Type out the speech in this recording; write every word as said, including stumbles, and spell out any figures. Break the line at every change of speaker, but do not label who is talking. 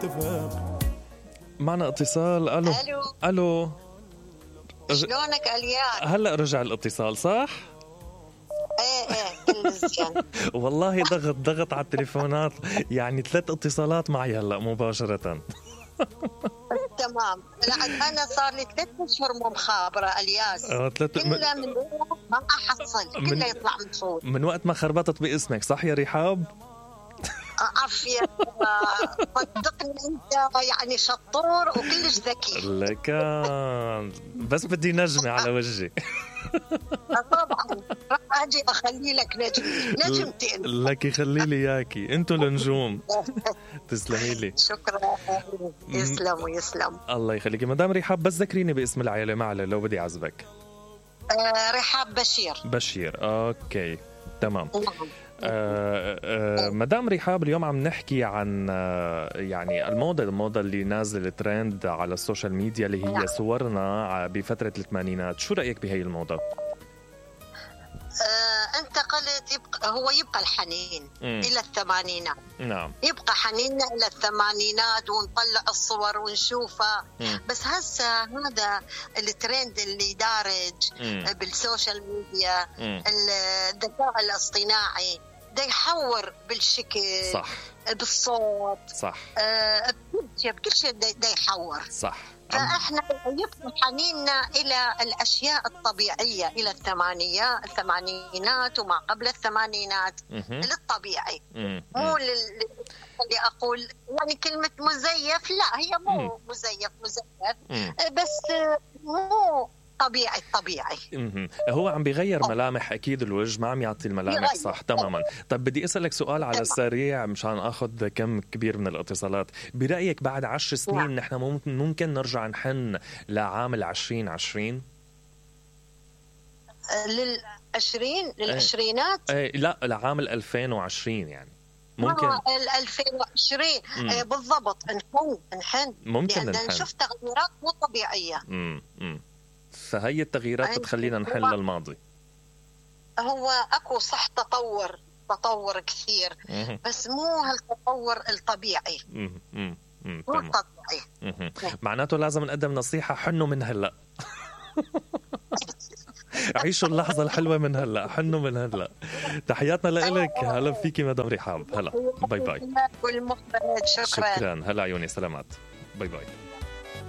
تفهم.
معنا اتصال. الو
الو
الو
شلونك الياس؟
هلا رجع الاتصال صح؟
ايه ايه كل زين.
والله ضغط ضغط على التليفونات، يعني ثلاث اتصالات معي هلا مباشرة.
تمام. لا انا صار لي ثلاث اشهر مو مخابره الياس.
اه ثلاث
كله من ما احصل، كله يطلع من صوت
من وقت ما خربطت باسمك صح يا رحاب؟
عافيه. صدقني انت يعني شطور وكلش ذكي.
لك بس بدي نجمة على وجهي.
طبعا راح اجي اخلي لك نجمه نجمتين.
لك يخلي لي اياكي، انتو النجوم. تسلمي لي.
شكرا. يسلم ويسلم.
الله يخليكي مدام رحاب، بس ذكريني باسم العائله معلش لو بدي اعزبك.
آه رحاب بشير.
بشير اوكي تمام. آه آه مدام رحاب، اليوم عم نحكي عن آه يعني الموضة الموضة اللي نازل ترند على السوشيال ميديا اللي هي صورنا بفترة الثمانينات. شو رأيك بهي الموضة؟
آه انت قلت يبقى هو يبقى الحنين م. الى الثمانينات.
نعم
يبقى حنيننا الى الثمانينات ونطلع الصور ونشوفها. م. بس هسه هذا الترند اللي دارج م. بالسوشيال ميديا، الذكاء الاصطناعي ده يحور بالشكل
صح،
بالصوت
صح،
آه بكل شيء بكل شيء ده يحور
صح.
فاحنا يبقى حنيننا الى الاشياء الطبيعيه، الى الثمانينات الثمانينات وما قبل الثمانينات للطبيعي، مو لل... اللي اقول يعني كلمه مزيف، لا هي مو مزيف مزيف بس مو طبيعي طبيعي.
هو عم بيغير ملامح اكيد الوجه، ما عم يعطي الملامح صح تماما. طب بدي اسالك سؤال على السريع مشان اخذ كم كبير من الاتصالات. برايك بعد عشر سنين نحن ممكن ممكن نرجع نحن لعام عشرين عشرين؟
للعشرين للعشرينات؟
ايه لا لعام ألفين وعشرين يعني ممكن.
اه ألفين وعشرين ايه بالضبط. نحن نحن
ممكن
لأن نشوف تغييرات مو طبيعيه.
امم امم فهي التغييرات بتخلينا نحل الماضي.
هو اكو صح تطور تطور كثير بس مو هالتطور الطبيعي.
امم
مو طبيعي.
معناته لازم نقدم نصيحة، حنوا من هلا. عيشوا اللحظة الحلوة من هلا، حنوا من هلا. تحياتنا لإلك. هلا فيكي مدام رحاب. هلا باي باي.
والمخرج شكرا.
شكرا. هلا عيوني سلامات. باي باي.